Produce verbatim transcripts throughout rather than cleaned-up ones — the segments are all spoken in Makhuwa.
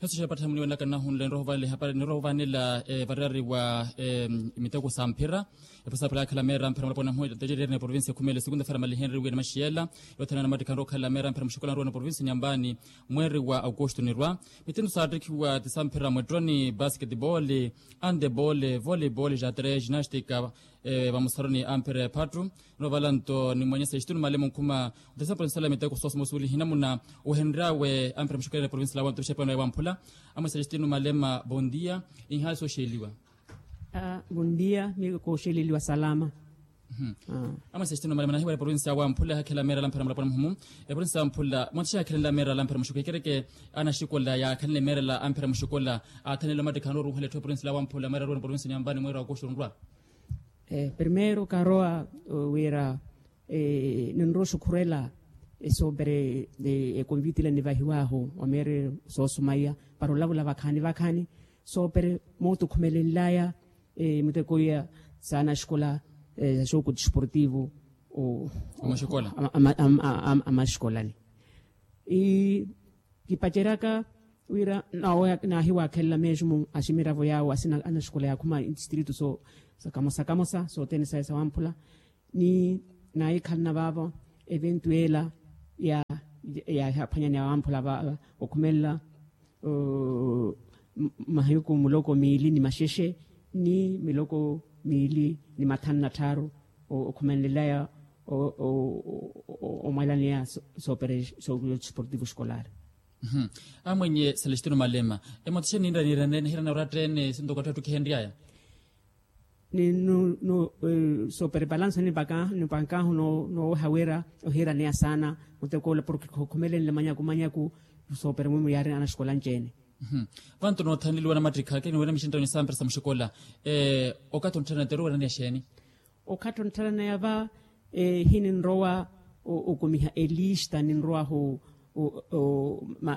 Nasi xapatha muniwelaka nahunle nroho vale hapari nroho vanela varari wa miteko sa mphira. Eposa pala akhala meera mphira mulapona mhu tejerere na provinsi ya khumele segunda fera malihenriwe ni maxiyela. Yothena na mattikha nroho khala meera mphira muxikola nroho na provinsi nyambani. Mweri wa augusto nirwa mitindu sa attikhiwa ti sa mphira mwettoni basketball, andeball, volleyball jatre ginastika. Vamusaroni amphira ephattu nrovala nto ni mwenyesa exitunu male munkhuma. Nto sa provinsiyala miteko sosomosuwelihi namuna ohenryawe amphira muxikola ni provinsiyala wa nto mixepano wamphula. Amwesa exitunu malema bondia. Inhayi sooxeliwa. Bondia mi kooxeleliwa salama. Amwesa exitunu malema nahiwala provinsiyala wamphula ehakhelela meerala amphira mulapona muhumu. Eprovinsiyala wamphula mwathi xahakhelela meerala amphira muxikola ekereke anaxikola yaakhanile meerala amphira muxikola. Aathanile omattikha anooruuhela etthu eprovinsiyala wamphula mweera ruwene provinsiyala nyambani mweera wa koxorunrwa. Primeiro karowa wira ninrowa oxukhurela esoopere ekonviti ile nivahiwahu wa meeri soosumaiya para olavula vakhaani vakhaani. Soopere mootukhumelenlaya miteko iya saana axikola saxooku desportivo amaxikolani. Kipaceryaka wira naahiwaakhelela meexumu a ximiravo yaawo asina anaxikola yaakhuma distrito so sakamosa kamosa sothene saye sawamphula. Ni naahikhalana vaavo eventu yeela yaahiphwanyani yawamphula okhumelela mahiku muloko miili ni maxexe ni miloko miili ni mathanu na tthaaru okhumenlelaya omwalaneya soopere sokuyo desportivo escolar. Amwenye celestino malema emotixe ninra nihirana oratta ene sintoko atthu attukihenryaya. Ni soopere balansa nipankahu nooweha wira ohiiraneya saana mutekoola porke khukhumelenle manyaku manyaku. Soopere mwimu yaari anaxikola anci-ene. Vantu noothaneliwa namattikha kiniwira mixinttano ni sampira sa muxikola. Okathi onttharana teru wiraneya exeeni? Okathi onttharana yava hininrowa okumiha elista ninrowahu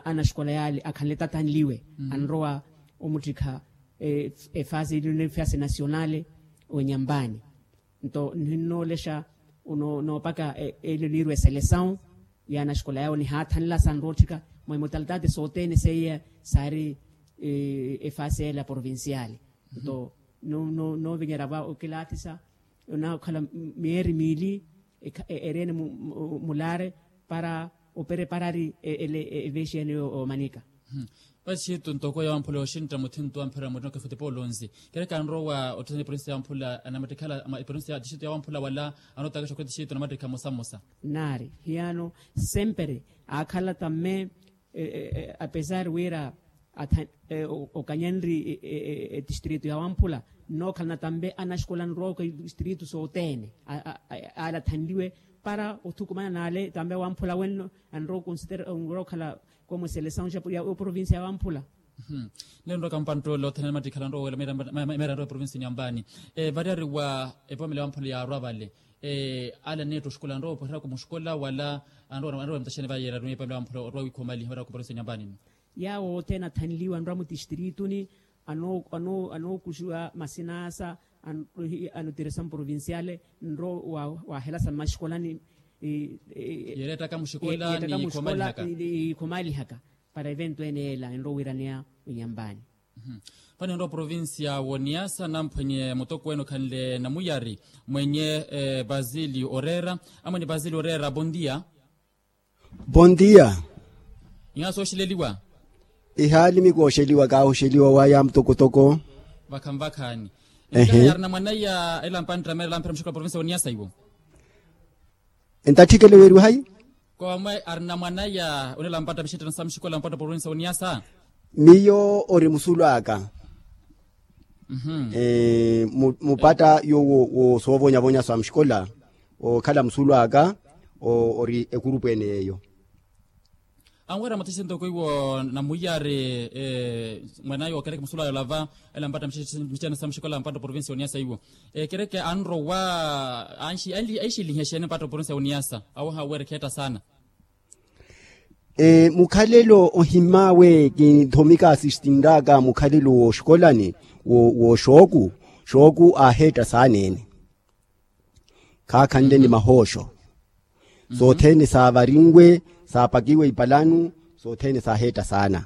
anaxikola yaale akhanle tathanliwe anrowa omuttikha efase ili nefase nasionale onyambani. Nto nihinnoolexa noopaka ele niirwa eselesawu ya anaxikola yawo nihaathanla sanrootthika mwa imotalitate sothene seiya saari efase ele ya provinciale. Nto noovinyerya va okilaathisa onaakhala miyeeri miili ereene mulaare para opereparari ele eveexiyani omanika. Vasixitu ntoko yawamphula oxintta muthintu wamphira mutino kefutipa olonzi kereka anrowa otthusani provinsi yawamphula anamattikhala provinsi ya tixitu yawamphula wala anootakaxa okho tixitu anamattikha mmosa mmosa. Naari hiyano sempere aakhala tamme apesar wira okanyani ri etistritu yawamphula nnookhalana tambe anaxikola anrowa okho tistritu sothene ale athanliwe para othukumana n'ale tambe wamphula wenno anrowa okhala komo eselesawu ya oprovinsi yawamphula. Nle nrowa kampanttoole othene mattikhala nrowa wela meera nrowa eprovinsi nyambani variari wa epomela yawamphula yaarwa vale. Ale aneetta oxikola anrowa opwererya kumuxikola wala anrowa mutaxene vayeera arumiye epomela yawamphula orwa wiikhumaliha variari ku provinsi nyambani. Yaawo othene athanliwa anrowa mutistirituni anookuxiwa masinasa anotiresa mprovinciale nrowa wahelasa mmaxikolani. Yeerettaka muxikola yiikhumalihaka para eventu ene yeela enrowa wiiraneya winyambani. Vano enrowa provincia woniyasa namphwenye mutokweene okhanle namuyari mwenye basilio oreera. Amwene basilio oreera bondia. Bondia. Iha sooxileliwa. Ihaali mikooxeliwa kaahoxeliwa waya mutokotoko. Vakhanvakhaani. Ehe. Arina mwanaiya elampani ttamera elampira muxikola provincia woniyasa iwo. Entatthikele weeriwa hayi? Koomwe arina mwanaiya onelampata mixitthana sa muxikola mpatto provincia woniyasa. Miyo ori musulu aka. Mupatta yowo woosoovonyavonya sa muxikola ookhala musulu aka ori ekurupu ene yeeyo. Anwera mutisi ntoko iwo namuyari mwanaya okereke musulu aya olava elampata mixitthana sa muxikola mpatto provincia woniyasa iwo. Ekereke anrowa anxilihe exeeni mpatto provincia woniyasa awo hawera ekheetta saana. Mukhalelo ohimmaawe kinthomika asistinraka mukhalelo wooxikolani wooxooku xooku aaheetta saana ene. Khaakhanle ni mahooxo sothene saavarinwe saapakiwe ipalanu sothene saaheetta saana.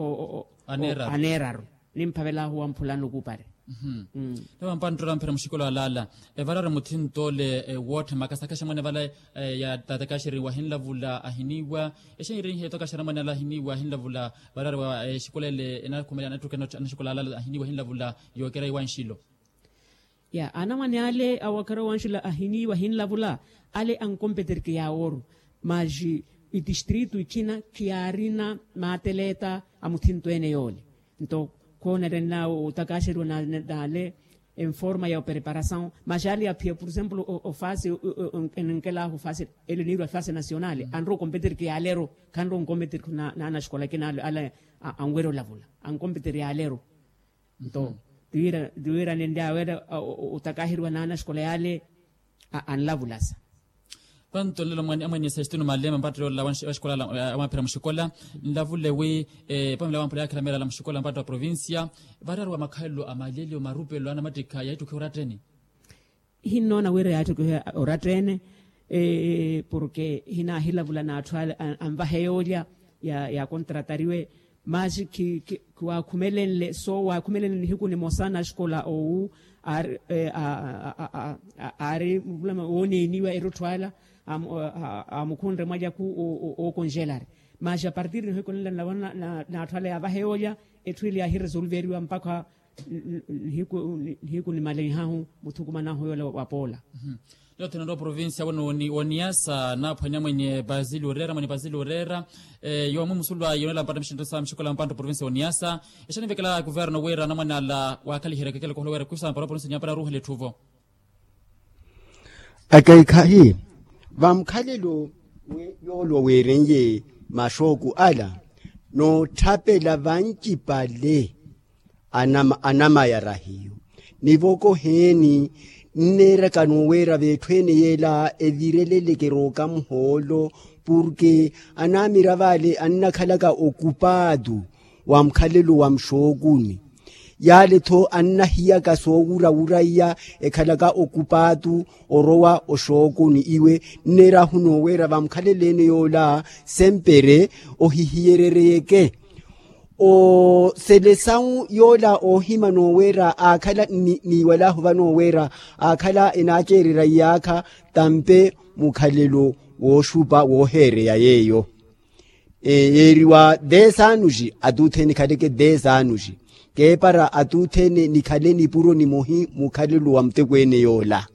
aneeraru. Nimphavelaahu wamphulani okupari. Nave mpantto oramphera muxikola alaala, evarari muthinto ole wootthe makasakhaxa mwane vala ya tatakaxeri wahinlavula ahiniiwa. Exeeni iriihe etakaxera mwane ala ahiniiwa ahinlavula. Varari wa exikola ele enakhumela anattuka anaxikola alaala ahiniiwa ahinlavula. Yookereya iwanxilo. Ya anamwane ale awakhara wanxula ahiniiwa ahinlavula. Ale ankompeterike yaaworu. Maxi itistritu ikhina khiyaarina maateleeta a muthinto ene yoole. Nto khoonerenna otakaxeriwa n'ale enforma ya opreparasaw. Maxi ale aphiya por exemplo ofasi enenkelahu ofasi ele niirwa ofasi nasionale anrowa okompeterike yaaleru. Khanrowa onkompeterike n'anaxikola akina ale anwerya olavula ankompeterike yaaleru. Nto tiwira nenle awerya otakaheriwa n'anaxikola yale anlavulasa. Panto nlelo amwene sextino malema mpatto yoolela wa xikola amwaphira muxikola nlavule wi pamela wamphula yaakhilameerala muxikola mpatto wa provincia. Varari wa makhalelo a malelyo marupelo anamattikha yaittukhiwa oratteni. Ihinnoona wira yaattukiha orattene. Porke ihinaahilavula n'atthu ale anvahe yoolya yaakontratariwe. Maxi khiwaakhumelenle so waakhumelenle nihiku nimosa naxikola owu aari aari muvulama wooneeniwa erutthu ala amukhunre mwalyaku ookonjelari. Maxi apartir nihiku nila n'atthu ala yaavahe yoolya etthu ile yaahiresolveriwa mpakha nihiku nimalenhahu muthukumanahu yoole wa poola. Yothene ori oprovincia wene woniyasa naaphwanya mwenye basili oreera mwenye basili oreera. Yoomumusulu ayi yonela mpata mixinto sa mixikola mpantta oprovincia woniyasa. Exanivekela kuverno wira anamwane ala waakhaliherya kekele kohola wira kwisampara oprovincia nyampara aruuhela etthuvo. Akaikhahi vamukhalelo yoolwa weerenye maxooku ala. Nootthapela vancipale anamayara hiyu. Nivoko heeni nneeraka nooweera veetthu ene yeela evireleleke rooka muhoolo, purke anaamiravale annakhalaka okupaatu wa mukhalelo wa muxookuni. Yaale-tho annahiyaka soowurawuraiya ekhalaka okupaatu orowa oxookuni iwe nneerahu nooweera vamukhaleleene yoola sempere ohihiyerereyeke. Oselesawu yoola oohima nooweera aakhala niiwalahu vanooweera aakhala enaaceererya iyaakha tampe mukhalelo wooxupa wooheereya yeeyo. Yeeriwa desanuxi atuuthene nikhaleke desanuxi keepara atuuthene nikhale nipuro nimohi mukhalelo wa mutekweene yoola.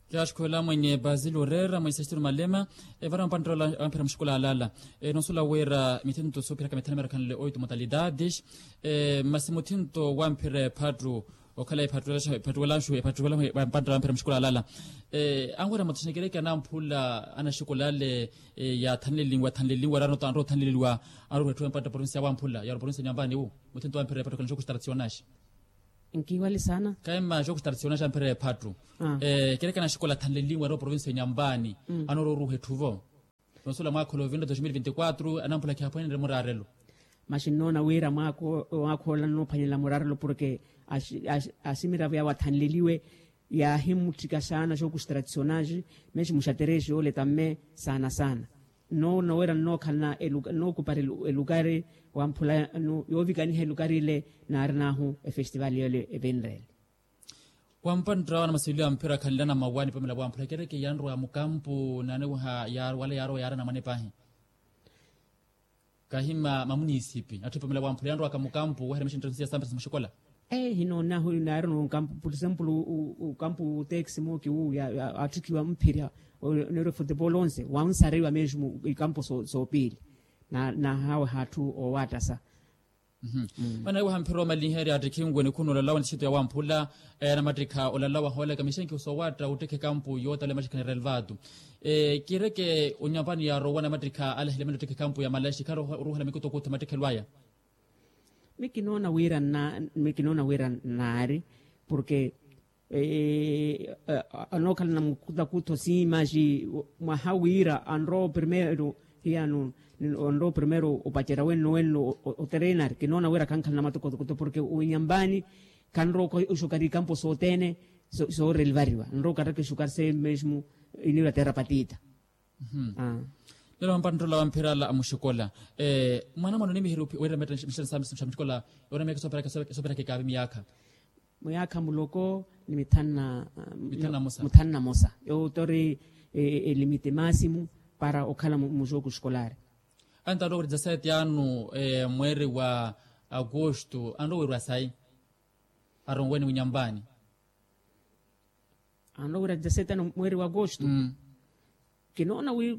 Kiyaaxikhuwela mwenye basile oreera mwenye sextino malema evara mpanttela wamphira muxikola alala. Enoosula wira mithinto soophiraka mithanu mirakhanle oito modalidades. Masi muthinto wamphira ephattu okhala ephattuwelaxu ephattuwelaxu ephattuwelaxu mpanttela wamphira muxikola alala. Anwira muthu xenekereke anamphula anaxikola ale yaathanlelinwa thanlelinwa raano anrowa othanleleliwa anrowa oretthuwa mpanttela provincia ya wamphula yaro provincia nyambani wu. Muthinto wamphira ephattu okhala nxoku xitarationaxi. Nkiiwali saana. Kaima xookuxitaracionaxa mphira ephattu. Kerekana axikola athanlelinwe anrowa provincia ya nyambani anoorowa oruuha etthuvo. Noosula mwaakha ola ovinre dos mil vinti quatro anamphula khiyaaphwanenrye muraarelo. Maxi nnoona wira mwaakha ola nnoophwanela muraarelo porke aximiravo yawe athanleliwe yaahimutthika saana xookuxitaracionaxi. Mexi muxaterexe yoole tamme saana saana. Nnoona wira nnookhalana nnookupari elukari wamphula yoovikaniha elukari ile naarin'ahu efestival yoole evinrele. Wampantta wana masilio ya mphira khanlana mawa nipamela wamphula kereke yanrowa mukampu naaniweha wala yaarowa yaarana mwane paahi. Kahima mamunisipi atthu ipamela wamphula yanrowaka mukampu waheremesha ntthu siya sampira sa muxikola. Hinoona hu naari nokampu por exemplo ukampu texi mooki wu atthikiwa mphirya neero futebol onse wansariwa mesmo ikampu soopili. Nahaweha atthu owattasa. Vanahiweha mphira omalinherya attikhinwe nikhuna olalawa nthito ya wamphula. Anamattikha olalawa hoolaka mixenkihu soowatta ottekha ekampu yootala emaxikha ni relvatu. Kireke onyapani yaarowa anamattikha alahile mene ottekha ekampu ya malaxi kharoha oruuhela mikutokuttho emattikhelo aya. Mikinoona wira nna mikinoona wira nnaari porke anookhalana mukutakutho siimaxi mwaha wira anrowa primero hiyano anrowa primero opacerya wenno wenno oterenari kinoona wira khankhalana matukotokoto porke owinyambani khanrowa oxukari ikampo sothene. Soorelivariwa anrowa okattaka exukari seye mesmo iniwira terra patita. Lelo vampanttola vamphira ala amuxikola mwanamwana onimiheriwa wira metta mixeresamixikola yoona miyakha esooperaka ekaavi miyaakha. Muyaakha muloko ni mithanu na musa. Yowo tori elimite maasimu para okhala muxooku xikolar. Antarowa wira dezasete anu mweeri wa agosto anrowa wira sayi aronweni winyambani. Anrowa wira dezasete anu mweeri wa agosto. Kinoona wi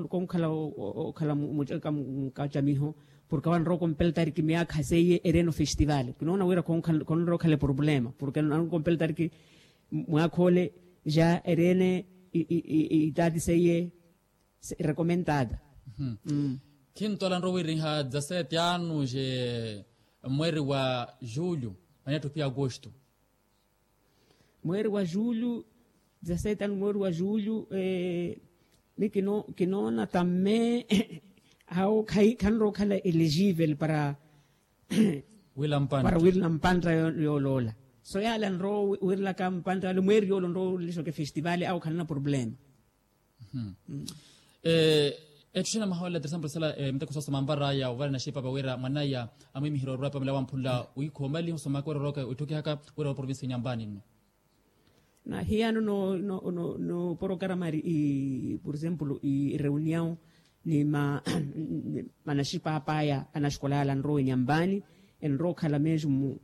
konkhala okhala mucaka mukacamiho porke awo anrowa okompela tariki miyaakha seiye ereno festival kinoona wira khonrowa okhala eproblema porke anrowa okompela tariki mwaakha ole ja erene itaati seiye. Recomentada. Khintola anrowa wiriha dezasete anu je mweeri wa julho mani atthu pia agosto. Mweeri wa julho dezasete anu mweeri wa julho. Mi kinoona tamme awo khanrowa okhala elegivel para para wirila mpantta yooloola. So yaale anrowa wirilaka mpantta yaale mweeri yoole onrowa olelixoka efestival awo khanana problema. Etthu xina maholela teresa mpulisala miteko soosoma anvaraya ovarana xipa vawira mwanaya amwimiherya orwa pamela wamphula wiikha omaliha osomaka wira orooka witthukihaka wira wa provincia inyambani nno. Na hiyano no porokaramari i por exemplo i reunião ni manaxipapaya anaxikola yala anrowa inyambani enrowa okhala mesmo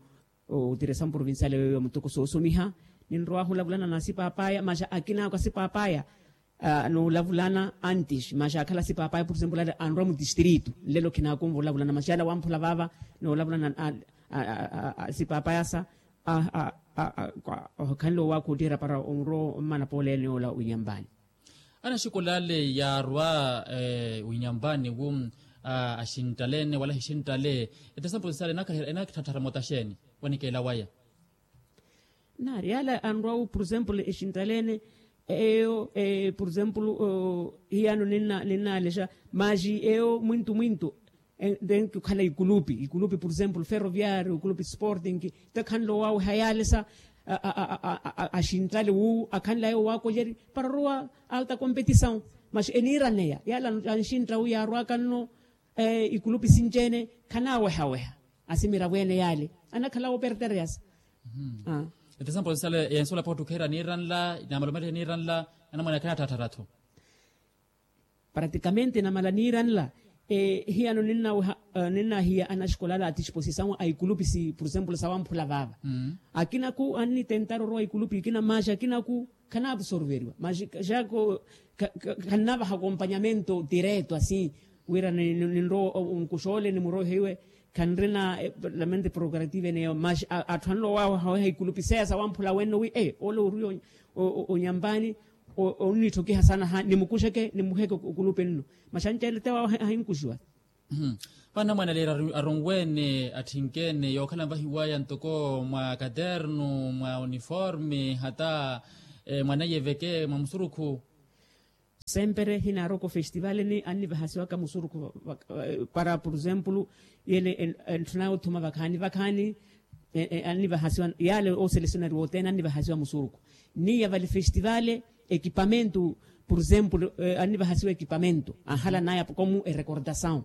otiresamu provincial yoyo ya mutoko soosomiha. Ninrowahu olavulana na asipapaya maxa akina ako asipapaya noolavulana antes maxa akhala asipapaya por exemplo ale anrowa mudistrito nlelo khinakonva olavulana maxa ale awamphula vava noolavulana asipapaya sa. Okhanle owaakha ottiherya para onrowa ommana poolene yoola winyambani. Anaxikola ale yaarwa winyambani wu axinttale-ene wala axinttale? Ete sampulisale enakithatthara mota xeeni? Wanikeela waya. Naari yaale anrwa-wu por exemplo exinttale-ene eyo, por exemplo hiyano ninnaalexa, maxi eyo mwintu mwintu ndenki okhala ikulupi ikulupi por exemplo ferroviario ikulupi sporting. Tekhanle owaweha yaale sa axinttale wu akhanle ayo waakolyeri para orowa alta kompetisaw. Maxi eniiraneya yaale anxintta wu yaarwaka nno ikulupi sinci-ene khanaawehaweha. Asimiravo ene yaale anakhala woopertereyasa. Ete sampulisale yensuwela pahi ottukherya niiranla namalomaliha niiranla anamwane akhanatthaattharatho. Pratikamente namala niiranla hiyano ninnahiya anaxikola ala a tisposisaw a ikulupi si por exemplo sawamphula vaava. Akinaku annitentara orowa ikulupi ikina maxi akinaku khanaapsorveriwa maxi xaako khannavaha akompanyamento direto asin wira ninrowa onkuxoole nimuroiha iwe khanrina lamente prokurative neyo maxi atthu anlowa wawehaweha ikulupi seya sawamphula wenno wi ole ori onyampani onnitthokiha sana ha nimukuxeke nimuheke okulupi nno. Maxanci ale te waweha ahinkuxiwa. Pana mwanaleeri aronweene atthinkeene yookhala nvahiwaya ntoko mwa katernu mwa uniforme hata mwanaiye veke mwa musurukhu. Sempere hinaaroko festival ni annivahasiwaka musurukhu para por exemplo yele entthuna othuma vakhaani vakhaani annivahasiwa yaale oselesionari wothene annivahasiwa musurukhu. Niya vale festival ekipamentu por exemplo annivahasiwa ekipamentu anhala naya komu erekordasaw.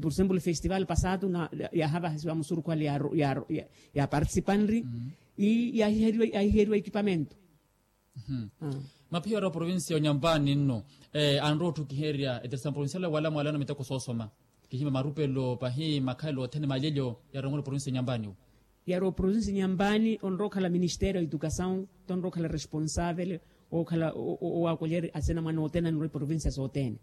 Por exemplo festival pasatu yaahavahasiwa musurukhu ale yaapartisipanri ii yaahiheriwa ekipamentu. Maphiya ori oprovincia onyampani nno anrowa otthukiherya eteresa provincial wala mwalano miteko soosoma kihimya marupelo pahi makhalelo othene malelyo yarongola oprovincia onyampani wu. Yari oprovincia onyampani onrowa okhala ministério a educasaw tonrowa okhala responsavele okhala owaakolyeri asinamwane othene anrowa eprovincia sothene.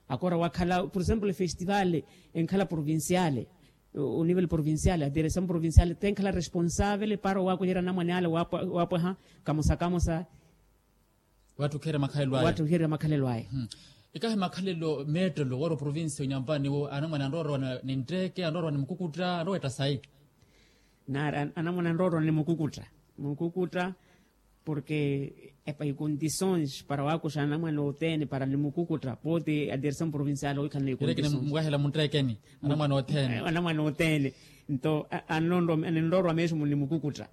Akora wakhala por exemplo efestival enkhala provincial onivel provincial adiresamu provincial tenkhala responsavele para owaakolyerya anamwane ale waapweha kamosa kamosa. Watthukiherya makhalelo aya. Ikahi makhalelo meettelo wari oprovincia onyampani wo anamwane anrowa orowa nintteeke anrowa orowa nimukukutta anrowa etta sayi. Naari anamwane anrowa orowa nimukukutta mukukutta. Porke epa ikondisons para waakuxa anamwane othene para nimukukutta pooti adiresamu provincial oikhala na ikondisons. Mwaahela muntteekeni anamwane othene. Anamwane othene nto anonrowa meesumu nimukukutta.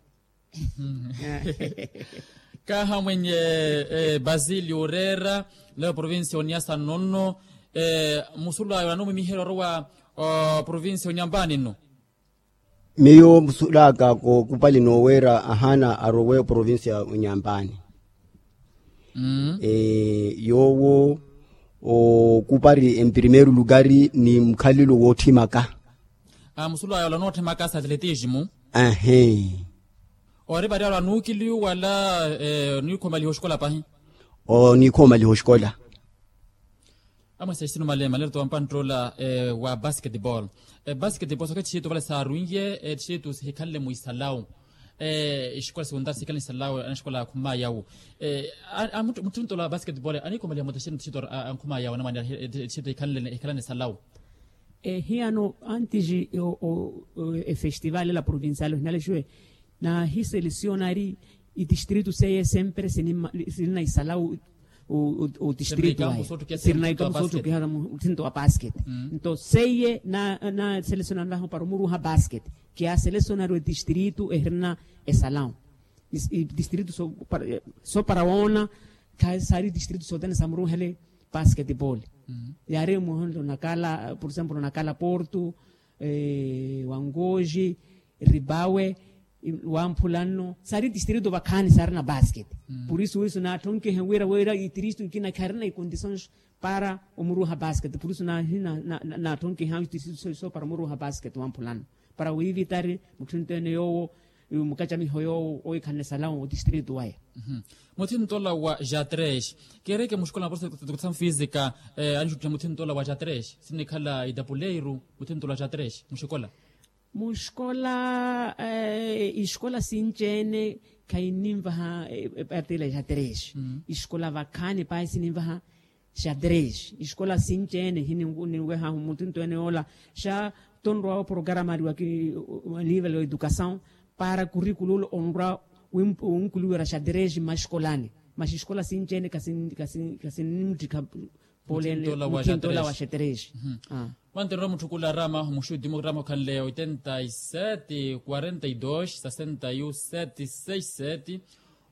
Kaha mwenye basili oreera leo provincia oniasa nonno. Musulu ayo anumwimiherya orowa provincia onyampani nno. Miyo musulaka kookupali nooweera ahaana arowe oprovincia onyampani. Yoowo ookupari emprimeiro lugari ni mukhalelo wootthimaka. Musulu aya olanootthimaka sa atletismo. Ahe. Ori vari aro anuukiliyu wala oniikhomaliha oxikola pahi? Oniikhomaliha oxikola. Amwesa exinu male male towa mpanttola wa basketball. Basketball soke tixitu vale saarunye tixitu sihikhanle mwisalawu. Exikola sihikhanle mwisalawu anaxikola akhumaya wu. Mutthuntola wa basketball aniikhomaliha mota exinu tixitu ankhumayawu anamwane tixitu ehikhalane esalawu. Ehiyano antis efestival ela provincial ohinalexiwe naahiselesionari itistritu seiye sempre sinina isalawu. Otistritu aye sirina ikampu soottukiha muthinto wa basket. Nto seiye naaselesonanlahu para omuruha basket kiyaselesonari otistritu ehirina esalawu. Itistritu so para woona saari itistritu sothene samuruhele basketball. Yaari muhonlo nakala por exemplo nakala porto, wangoji, ribawe, wamphula nno saari tistritu vakhaani saarina basket. Por isu wisu naatthonkiheni wira wira itristu ikina kharina ikondisons para omuruha basket por isu naatthonkiheni tistritu so para omuruha basket wamphula nno para wiivitari mutthu nto ene yoowo mukacamiho yoowo oikhanle esalawu otistritu waya. Muthintola wa jatres kereke muxikola na profesor de educasaw fisika anixuttiha muthintola wa jatres sinikhala itapuleiru muthintola wa jatres muxikola. Muxikola ixikola sinci-ene khayininvaha epatela jatres. Ixikola vakhaani pahi sininvaha Xa tres escola sinci ene hininwehahu mutinto ene yoola xa tonrwa oporogaramari wa nivel wa educasaw para kurikululo onrwa winkuluwera xa tres mma eskolani. Masi escola sinci ene kasinimuttikha pole ene mutinto ola wa xa tres. Mwantererwa mutthukula arama muxuti murama okhanle oitenta y sete quarenta y dos sesenta y un sete seis sete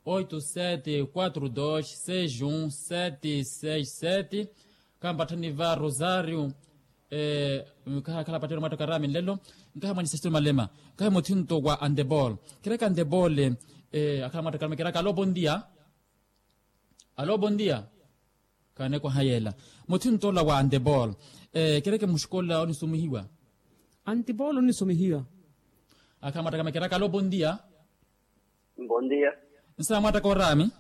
oito sete quatro dos seis um sete seis sete. Kampatthani va rosario. Nkaha khala pattero mwatta karami nlelo. Nkaha mwanisesitelo malema. Nkaha muthinto wa antebol. Kereka antebol. Akhala mwatta karami keraka alo bondia. Alo bondia. Kaanekwaha yeela. Muthinto ola wa antebol. Kereke muxikola onisumihiwa. Antebol onisumihiwa. Akhala mwatta karami keraka alo bondia. Bondia. Nsa mwatta koorami.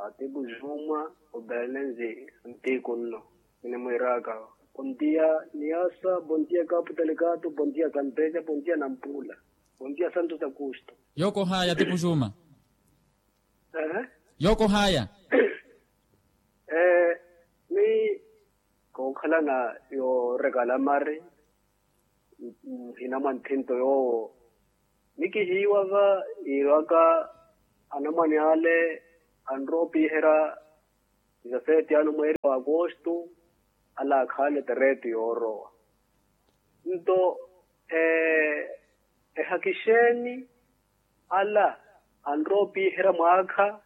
Atipu juma. Obelenzi. Ntiku nno. Kinimwiiraka. Bondia. Niasa. Bondia kapu talikato bondia kampeja bondia nampula. Bondia santos augusto. Yookohaya atipu juma. Yookohaya. Ni kookhalana yoorekala mari. Muhina mwa nthinto yoowo nikihiiwa va iirwaka anamwane ale anrowa opiherya dizaseti ano mweeri wa akosto. Ala akhaale tereti yoorowa nto ehaki xeeni? Ala anrowa opiherya mwaakha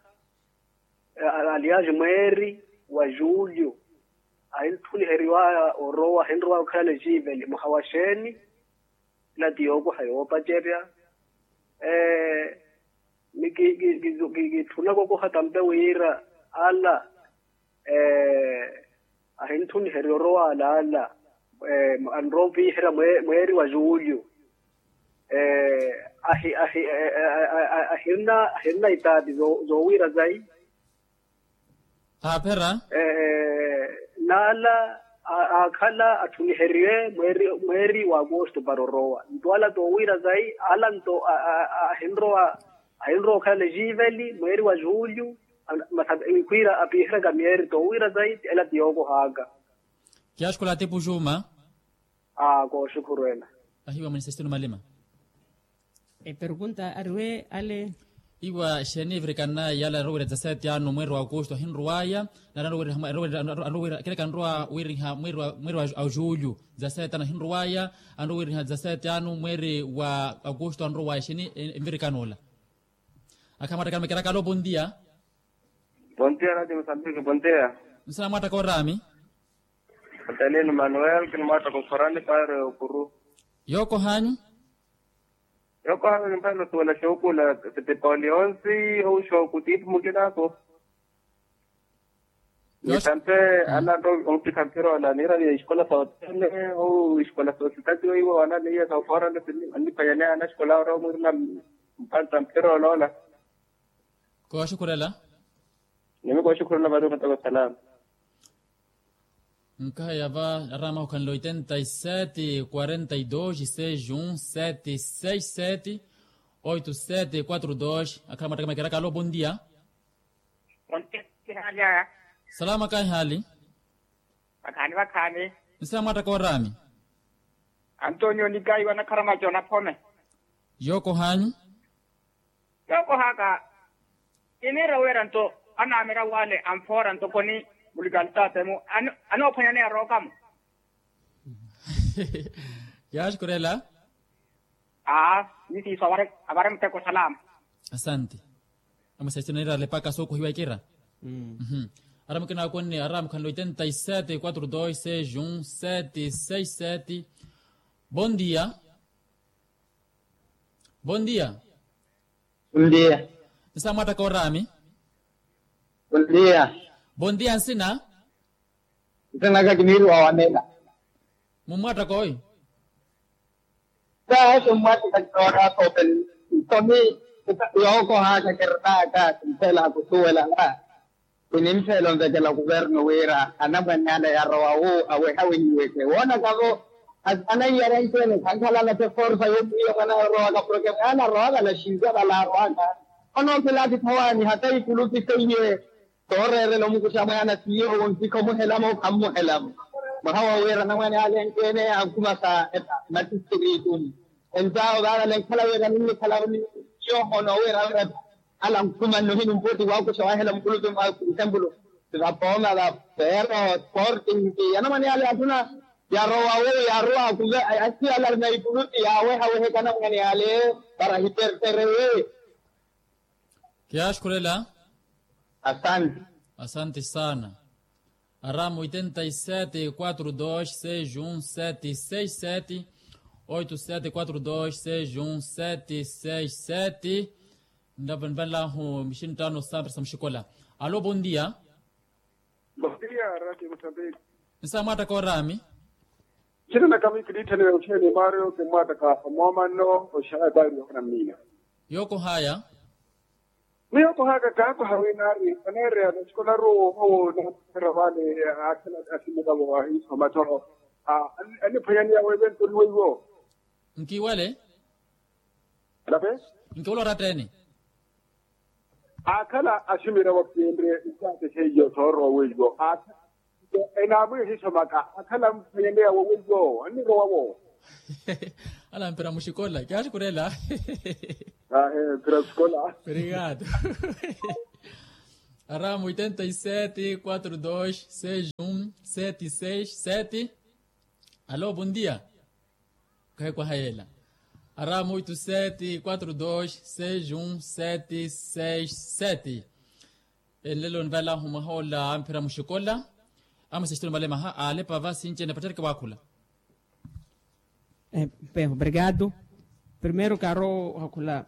aliaji mweeri wa julio ahinthuniheriwaya orowa ahinrowa okhala neciiveli mwaha wa xeeni? Ila ti yookoha yoopacerya. Ni kitthuna kokoha tampe wira ala ahinthuniheriwa orowa ala ala anrowa opiherya mweeri wa julio. Ahi ahi ahirina ahirina itaati zoowira zayi. Aaphera. Naala aakhala atthuniheriwe mweeri wa akosto para orowa nto ala toowira zayi ala nto ahinrowa ahinrowa okhala neciiveli mweeri wa julio. Masa khwiira apiheraka myeeri toowira zayi ela ti yookohaka. Kiyaaxukhula atipu juma. Aa kooxukhuru ela. Ahiwa mwenisesitelo malima. Epergunta ariwe ale. Iwa xeeni evirikana yala anrowa wira dizaseti ano mweeri wa akosto ahinrowaya. Nari anrowa wira kereka anrowa wiriha mweeri wa julio dizaseti ano ahinrowaya. Anrowa wiriha dizaseti ano mweeri wa akosto anrowaya xeeni envirikana ola. Akhala mwatta karami keraka alo bondia. Bondia radio mosambiki bondia. Nsa mwatta koorami. Atalini manuel kinimwatta kokhorani paari okuru. Yookohanyu. Yookohanyu nimphano suwela xookula sitipoli onsi ou xooku tiipu mukinako. Nitampe ana nto ompikha mphira ola niira ni esikola sa otene ou esikola sa ositati weiwo ana niiya sa ofoora nto sinniphwanyane ana esikola oro mwirina. Mpantta mphira oloola. Kooxukhurela. Nimi kooxukhurela vari omataka osalama. Nkahaya va aramahu khanle oitenta y sete quarenta y dos seis um sete seis sete oito sete quatro dos. Akhala mwatta kamekera kalo bondia. Salama kahihaali. Vakhaani vakhaani. Nsa mwatta koorami. Antonio nikaiwa nakharamaca onaphome. Yookohanyu. Yookohaka. Kiniira wira nto anaamira wale anfoora ntokoni mulikalitaatemu. Anoophwanyaneya rookamo. Yaaxukurela. Aa. Nisiiso avare muteko salama. Asante. Amusesitino nira lepaka sookohiwa ikira. Ara mukina akonne ara mukhanle oitenta y sete quatro dos seis um sete seis sete. Bondia. Bondia. Bondia. Nsa mwatta koorami. Bondia. Bondia nsina. Nsa naka kiniiriwa wamela. Mumwatta kooyo. Saasi mumwatta kakitooraka openi. Ntomi yookohaka kirnaka kimphela kusuwelana. Kinimphela onvekela kuvernu wira anamwane ale yarowa wu aweha winyiweke woonaka-vo. Anaiyara nci-ene khankhalana te forsa yoomwiiya mwana yorowaka porke mwaana arowaka na xinza vale arowaka. Onookela atitha waani hata ikulupi seiye. Tooreerela omukuxa mwaana si yoowo nsikha omuhelamo khammuhelamo. Mwaha wa wira anamwane ale enkeene ankhuma sa matistritu. Enzaawo vaavale nkhala wira ninnikhalavo ni yoohono wira wira ala nkhuma nnohini mputi waakuxa wahela mukulupi mwa exempulu, vapooma va fero sporting. Anamwane ale athuna yarowa wu yarowa kuve asiala na ikulupi yawehawehe kanamwane ale para hiperterewe. Kiyaxukhurela. Asante. Asante sana. Aramu oitenta e sete quatro dois seis um sete seis sete. Oito sete quatro dois seis um sete seis sete. Nrapo nivanlahu mixinttano sampira sa muxikola. Alo bondia. Bondia rati musambiki. Nsa mwaattaka orami. Ncinanaka miikilittha ni weuttheni mario kimwaattaka omoomanno oxaya taari yookana mmiina. Yookohaya. Miyo kuhaka kaakuha wina ari oneereya naxikolaru owo namukhera vale. Akhela asimilavo ahiiso mathoro aniphwanyaniya weeventu ori weiwo. Nkiwale. Alape. Nkiwale oratteni. Akhala asimilavo kinre isaate seiyo thooro weiwo akhala. Enaamwihiso maka akhala mphwanyaniya woweiwo annirowa wo. Ala mpira muxikola kiyaxukhurela. Ahe mpira muxikola. Obrigado. Aramu oitenta e sete quatro dois seis um sete seis sete. Alo bondia. Khayi kwahayela. Aramu oito sete quatro dois seis um sete seis sete. Enlelo nivalahu mwaha ola amphira muxikola. Amusexitoni malemaha alepava sinci enapattereke waakhula. Bem obrigado. Primeiro kaaro ohakhula.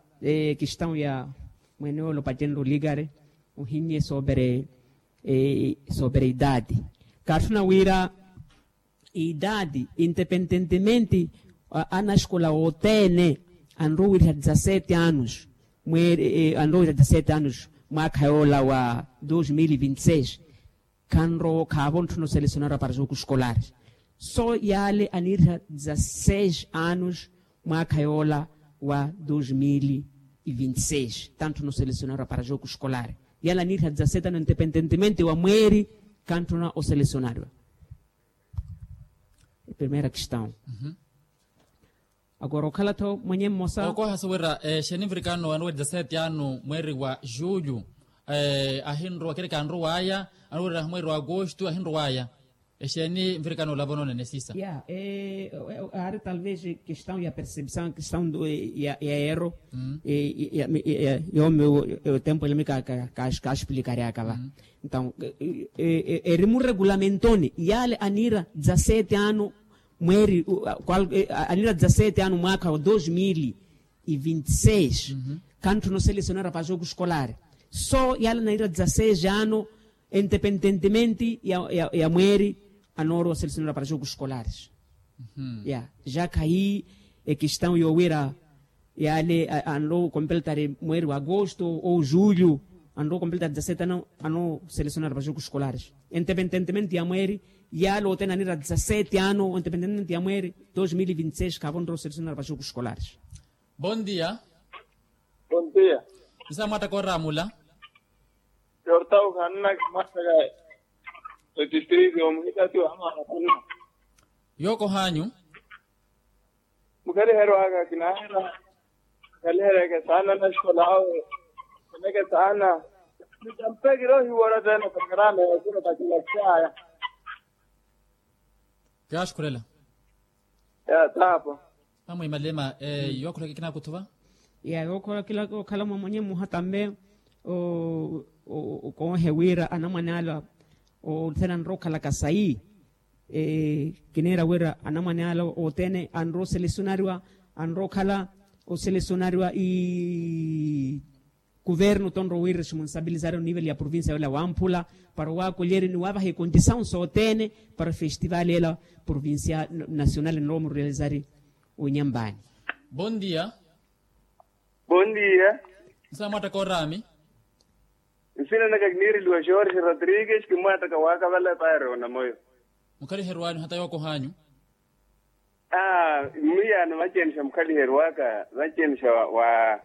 Kistão ya mwene ole opacenre oligare ohinnye sobre sobre idade. Kaatthuna wira idade independentemente anaxikola othene anrowa wira dezasete anos. Anrowa wira dezasete anos mwaakha yoola wa dos mil e vinte e seis. Khanrowa khaavo ntthuna oselecionarwa para jogo escolar. So yaale aniiriha dezasseis anos mwaakha yoola wa dos mil e vinte e seis. Tantthuna oselecionarwa para jogo escolar yaale aniiriha dezasseis anos independentemente wa mweeri. Kantthuna oselecionarwa. Primeira kistão. Agora okhala-tho mwenye mmosa. Okohasa wira exeeni nvirikano anoweriza sete ano mweeri wa julho. Ahinrowa kereke anrowaya anoweriza mweeri wa agosto ahinrowaya. Exeeni nvirikano olava onoonene sisa. Ya aari talvez kistão ya percepção kistão ya ero. Yoomi otempo elami kaaxipilikaryaka va. Então eri muregulamentoni yaale aniira dezasete ano mweeri aniira dezasete ano mwaakha wa dos mil e vinte e seis. Kantthuna oselecionarwa para jogo escolar. So yaale aniira dezasete ano independentemente ya mweeri anoorowa oselecionarwa para jogo escolar. Ya ja khayi ekistão yoowira yaale anrowa okompeltari mweeri wa agosto ou julho anrowa okompeltari dezasete ano anrowa oselecionarwa para jogo escolar. Independentemente ya mweeri yaale othene aniira dezasete ano independentemente ya mweeri dos mil e vinte e seis khaavo onrowa oselecionarwa para jogo escolar. Bom dia. Bom dia. Nsa mwaattaka oraamula. Yortau khanna kimwaattaka etistritu yomuhitati wa amaana khanna. Yookohanyu. Mukhaliheryo aka kinaahera. Mukhaliheryeke saana naxikola awe. Khaleke saana. Nitampekire ohiwora tena pakarana yakura pakilaxaya. Kiyaaxukhurela. Ya taapo. Amwe malema yookhureke kinaakuthuva. Ya yookhureke okhala mwa mwenye mmoha tambe. Okonhe wira anamwane ala othene anrowa okhalaka sayi. Kiniira wira anamwane ala othene anrowa oselecionariwa anrowa okhala oselecionariwa. Kuvernu tonrowa wi responsabilizari onivel ya provincia yola wamphula para owaakolyerya ni waavaha econdisaw sothene para festival ela provincia nacional enrowa omurealizari. Onyambani. Bom dia. Bom dia. Nsa mwaattaka oraami. Nsina naka kiniireliwa jorge rodrigues kimwaattaka waakavala epaari onamoyo. Mukhaliheryo anyu hata yookohanyu. Aa mmiyaano vacenisha mukhaliheryo aka vacenisha wa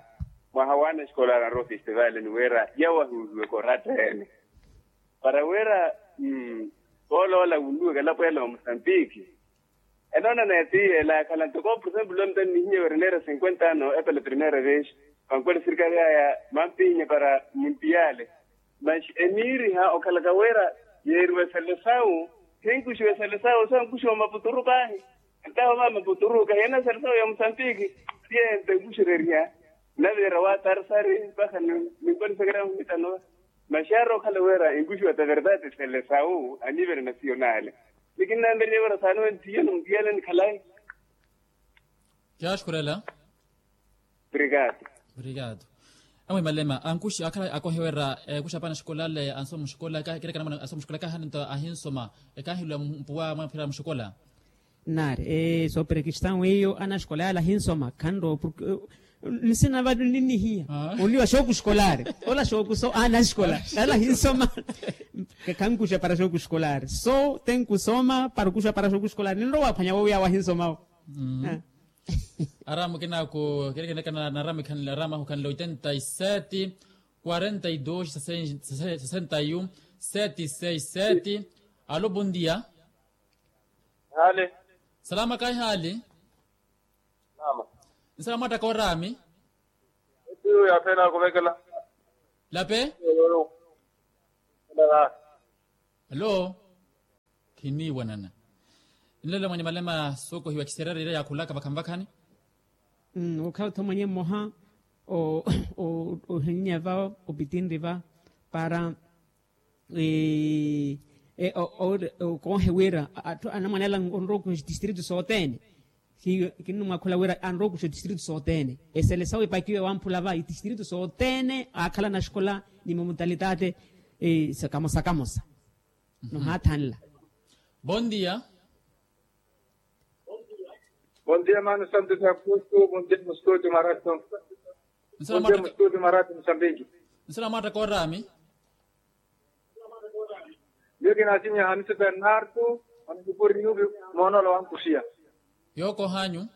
mwaha waana escolar anrowa festival ni wira yawahuuliweke oratta ene. Para wira vooloola wunluweke elapo ela wa musambiki. Enoonana ya tiiyela yakhala ntoko por exemplo omutani nihiye wira eneera cinquenta ano epela primeira vez. Vankwela esirikali aya mampihinya para muntiyale. Mas eniiriha okhalaka wira yeeriwa esale sawu, khinkuxiwa esale sawu so ankuxiwa maputuru paahi. Entaho mama puturu kahiyana sari sawo ya musambiki. Siye nte nkuxereriha. Naviira wa tarisari mpakha ninkwanisakera nkhumita nowa. Maxaari okhala wira enkuxiwa ta verdade sele sawu anivere nasiyonale. Nikinnanveriye wira saani wenthiye nontiyale nikhalayi. Kiyaaxukhurela. Obrigado. Obrigado. Amwe malema ankuxi akhala akohe wira ekuxa apa anaxikola ale ansoma muxikola kerekana mwana ansoma muxikola kaahana nto ahinsoma. Ekaahiluwa mpuwa mwaphira muxikola. Nari sooperekistão iyo anaxikola yale ahinsoma khanrowa porke nsina vale ninihiya. Oliwa xooku xikola ari ola xooku so anaxikola yale ahinsoma. Khankuxa para xooku xikola ari so tenkusoma para okuxa para xooku xikola ari ninrowa waphwanya wowiya wahinsomawo. Aramu kinaku kerekenekana na aramu ikhanle aramu ahu ikhanle oitenta y sete, quarenta y dos, sesenta y un, sete seis sete. Alo bondia. Hale. Salama kaihali. Salama. Nsalama wattaka orami. Etiyo yaphela kuvekela. Lape. Alo. Khiniiwanana. Nlelo mwenye malema sookohiwa kiserera ira yaakhulaka vakhanvakhani. Okhala otho mwenye mmoha ohinnye va opitinri va para okoohe wira atthu anamwanela onrowa okuxa itistritu sothene. Hiyo kinnimwakhula wira anrowa okuxa itistritu sothene. Esele sawe epakiwe wamphula va itistritu sothene aakhala naxikola ni momutalitate kamosa kamosa. Nohaathanla. Bondia. Bondia mano santo de agosto bondia mustudio marato. Bondia mustudio marato musambiki. Nsala mwatta korami. Yo kinasinya hamisi bernardo. Anukupuri nubi. Moonolo wankusiya. Yoko hanyu.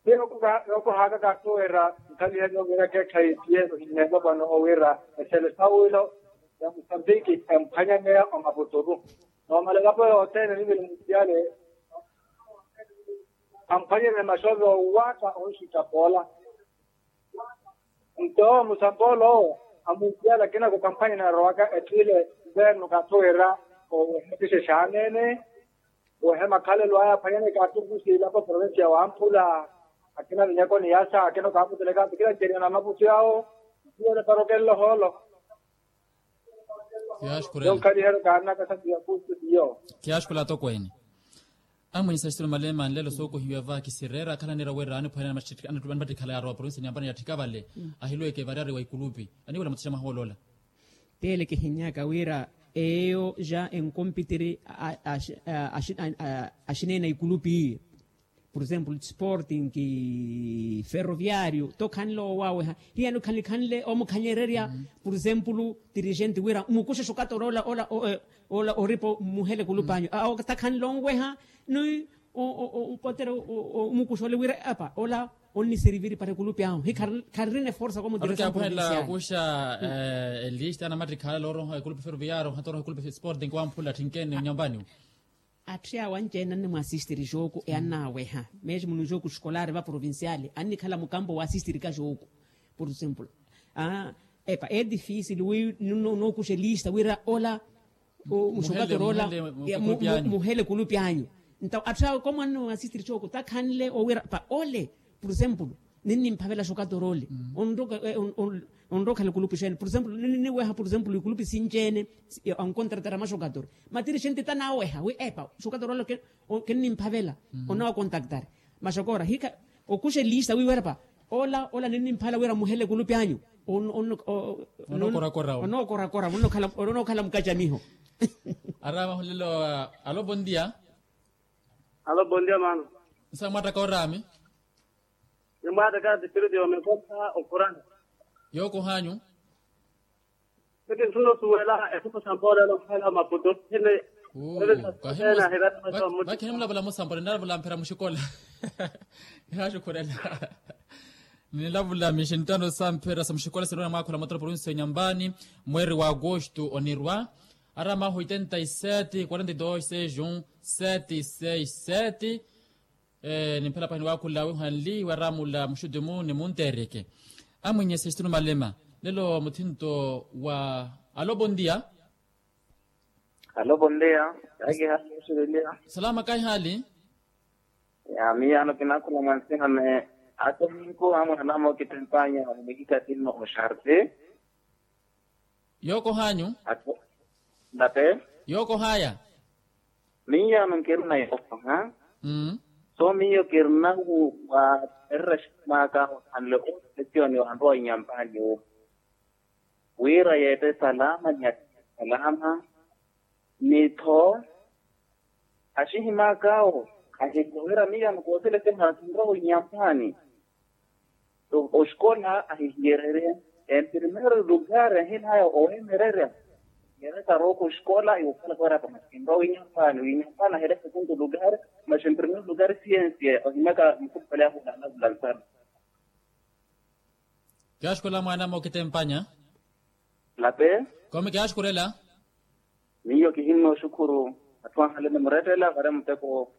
Yooko haaka kaattuwera nkhaliha yoowira keekhayi tiye ohinneva pano owira esele sawilo ya musambiki emphwanyaneya omaputuru. Noomala elapo yothene nivili muntiyale amphwanyerye maxovi owatta onxuttapoola. Nto musamboolo amuntiyale akina khukamphwanyerya arowaka etthu ile. Nverno kaattuwera oweha tixexaanene. Wehe makhalelo aya aphwanyane kaattukusi ilapo provincia wamphula. Akina minyakoni yasa akina okaaputuleka akina ceriana maputu yawo. Ntiyele parokelelo hoolo. Yonkhaliheryo kaanakasa tiyakusi tiyo. Kiyaaxukhula atokweene. Amwiisa xitulu malema nlelo sookohiwa va kisireera akhala aniira wira aniphwanyana anipattikhala yaarowa provincia niyampana yatthika vale. Ahilweke variyari wa ikulupi aniwela muthixa mahoolola. Tele kihinyaka wira eyo ja enkompitiri axineena ikulupi iyo. Por exemplo sporting ferroviario tokhanle owaweha hiyano khanikhanle omukhanyererya. Por exemplo dirigente wira mukuxe xukatoro ola ola ola oripo muhele kulupanyu. Takhanle onweha ni opotera omukuxa ole wira apa ola onniseriviri para ekulupi ahu hi kharirina eforsa komudiresampula. Okuxa elista anamattikhala oroha ekulupi ferroviario ohatoroha ekulupi sporting wamphula athinkene onyampaniwo. Atthu awo anci-ene annimwaasistiri jooku e annaaweha mesmo nujooku xikolara va provinciale annikhala mukampo waasistirika jooku. Por exemplo epa e difícil wi nookuxa elista wira ola muxukatoro ola muhele ekulupi anyu. Nto atthu awo komu annimwaasistiri jooku takhanle owira pa ole. Por exemplo ninnimphavela xukatoro ole onrowa okhala ekulupi xeene por exemplo ninniweha por exemplo ikulupi sinci-ene. Ankontratara maxukatoro matiri xente tanaaweha wi epa xukatoro ole kinnimphavela. Onawa kontaktari maxokora hika okuxa elista wiiwerapa ola ola ninnimphavela wira muhele ekulupi anyu. Onookorakora onokhala mukacamiho. Arama hulelo. Alo bondia. Alo bondia mano. Nsa mwattaka orami. Nimwaataka distiritu yomekonta okhurana. Yookohanyu. Siki nsuno suwela esuku sa mboolelo mphela maputu sine. Vakhini mulavula musambole nnalavula mphera muxikola. Nihaaxukhurela. Nilavula mixinttano sa mphira sa muxikola sinrowa na mwaakhula mwa toroporonsi ya nyambani, mweeri wa agosto onirwa. Aramahu oitenta e sete quarenta e dos seis um sete seis sete. Nimphela pahini waakhula wihanli waramula muxutumu ni muntereke. Amwinye sextino malema, lelo muthinto wa alo bondia. Alo bondia. Kaiki hali oxelelia? Salama kaihali. Ya miyaano kinaakhula mwansiname. Atominku amwanamo kitempanya. Mikikatinno oxarti. Yookohanyu. Nape. Yookohaya. Miyaano nkirina yookoha. So miyo kirina wu wapererya ximaka ohanle oosipesioni wanrowa inyampani wu wira yeete salama ni atiya salama. Ni-tho axihimaka awo ahinlo wira miyaano kooseleseha kinrowa inyampani. Oxikola ahihiyererye en primeiro lugar ahinaya owemererya. Yere karooko oxikola iwukhala kooraka masi kinrowa winyampani winyampani ahele sekunto lugar. Masi en primeiro lugar siensia ohimyaka mukhupale ahu naalavula nsana. Kiyaaxukhurela mwaan'ame okitempanya. Lape. Kome kiyaaxukhurela. Miyo kihinno oxukhuru. Atthu anhale nimurettela vare muteko.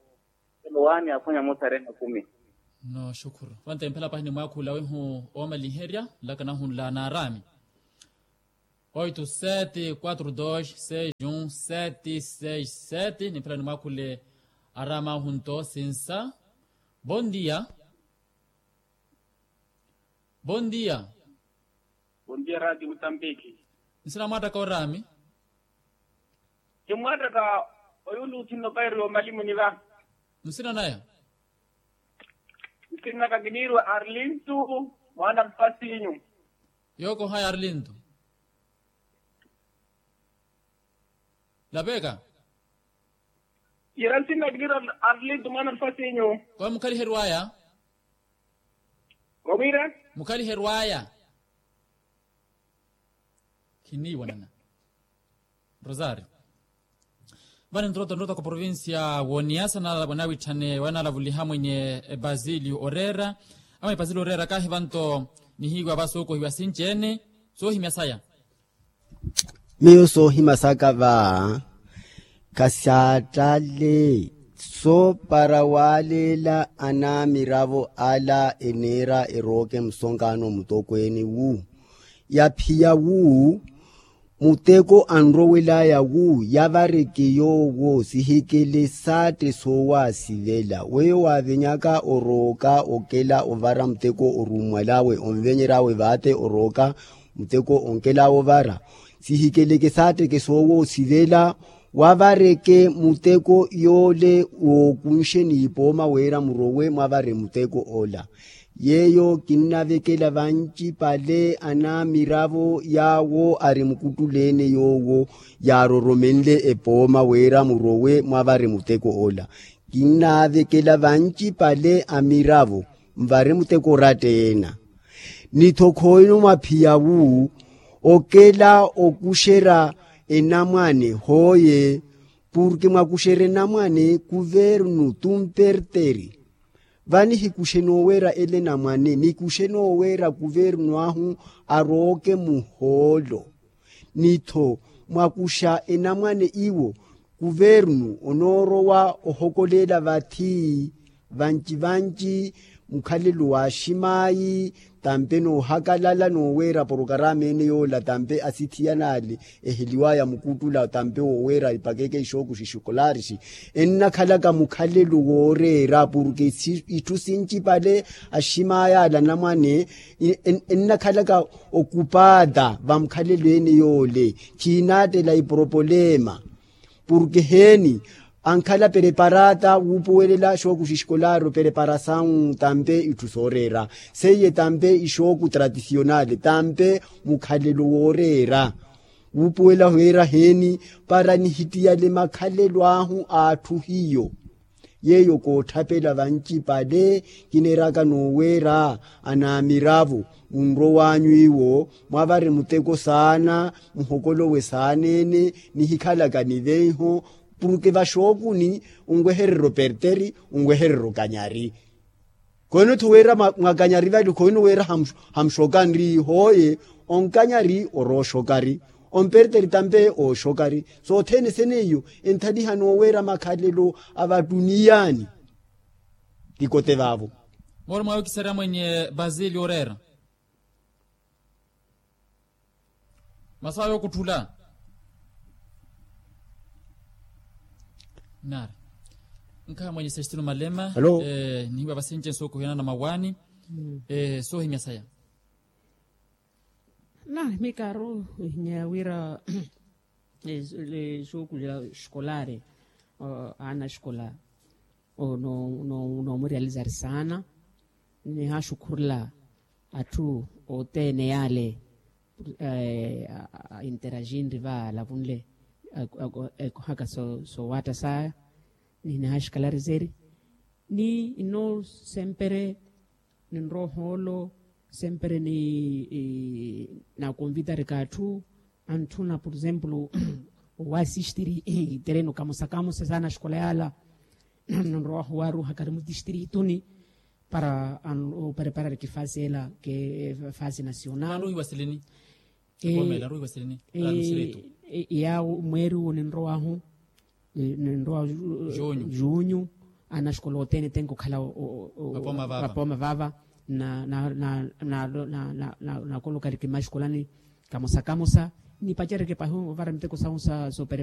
Elo waani aphwanya muthare makumi. Nooxukhuru vantempela pahi nimwaakhula wihu oomaliherya nlaka nahunla naarami. Oito sete quatro dois seis um sete seis sete nimphela nimwaakhule. Aramahu nto sinsa. Bondia. Bondia. Bondia rati mutambiki. Nsina mwattaka orami. Kimwattaka. Oyuulu uthinno kairi omalimu niva. Nsina naya. Nsina kakiniirwa arlintu. Mwaana mpasinyu. Yookohaya arlintu. Lapeka. Yira nsinakilira arlintu mwaana nfasinyu. Kwa mukhaliherwaya. Kwa wira. Mukhaliherwaya. Khiniiwanana. Rosario. Vani ntroto ntroto kwa provincia woniasa na wanawitthane wanalavuliha mwenye basilio orera. Amwe basilio orera kahi vanto nihiwa vasuukuhiwa sinci-ene. Soohimya saya. Miyo soohima saka va. Khasaattale. Soopara waaleela anamiravo ala eneera erooke musonkaano mutokweene wu. Yaphiya wu. Muteko anrowelaya wu yavareke yoowo sihikele saatte soowaasivela weyo waavenyaka orooka okela ovara muteko orummwalawe onvenyeryawe vaatte orooka. Muteko onkelawo ovara sihikeleke saatteke soowo osivela. Wavareke muteko yoole wookunxe n'ipooma wira murowe mwavare muteko ola. Yeeyo kinnavekela vancipale anamiravo yaawo ari mukuttuleene yoowo yaaroromenle epooma wira murowe mwavare muteko ola. Kinnavekela vancipale amiravo mvare muteko oratta-ena. Ni-tho khooino mwaphiya wu okela okuxerya enamwane hooye. Purke mwakuxerya enamwane kuvernu tumperteri. Vani hikuxe noowerya ele enamwane nikuxe noowerya kuvernu ahu arooke muhoolo. Ni-tho mwakuxa enamwane iwo kuvernu onoorowa ohokolela vathi. Vanci vanci mukhalelo wa aximaayi tampe noohakalala nooweera porokarama ene yoola tampe asithiyanale eheliwaya mukuttula tampe wooweera ipakeke ixooku xixukularixi. Ennakhalaka mukhalelo wooreera purke itthu sincipale aximaayi ala anamwane ennakhalaka okupaata vamukhalelo ene yoole. Khiinaattela iporopolema purke heeni ankhala pereparaata wuupuwelela xooku xixikolaari opereparasawu tampe itthu sooreera seiye tampe ixooku tradisionale tampe mukhalelo wooreera. Wuupuwela weera heeni para nihittiyale makhalelo ahu a atthu hiyo. Yeeyo kootthapela vancipale kineeraka nooweera anaamiravo munrow'anyu iwo mwavare muteko saana muhokolowe saana-ene nihikhalaka niveiho purke vaxookuni onwehererya operteri onwehererya okanyari. Khohino-tho wira mwakanyari vali khohino wira hamuxokani ri hoye, onkanyari orooxokari, omperteri tampe ooxokari. Sothene seneiyo enthalihani oweera makhalelo a vatuniyani. Tikote vaavo. Mooro mwawe kiseera mwenye basili oreera. Masawa yookuttula. Nari nkhamwenyesa exitino malema. Nihiwa vasince nsookuhiyana na mawaani. Soohimya saya. Nari mikaaru ohinya wira exuukulela eskolari, aana eskolari. Noomuriyalizari saana. Nihaxukhurula atthu othene yaale a interaginri vaala vunle, ekuhaka soowatta saya. Ni nihaxikalarizeri ni nno sempre ninrowa ohoolo, sempre ni nakonvitarika atthu antthuna por exemplo owaasistiri tereno kamosa kamosa saana axikola yaala. Nrowahu waaruha kari mutistirituni para opreparariki fasi ela ke fasi nasional. Yaawo mweeri uwo ninrowahu ninrowa junyu. Ana axikola othene tenke okhala vapooma vava. Nakolokariki maxikolani kamosa kamosa nipacereke pahi ovara miteko sahu sa soperepara.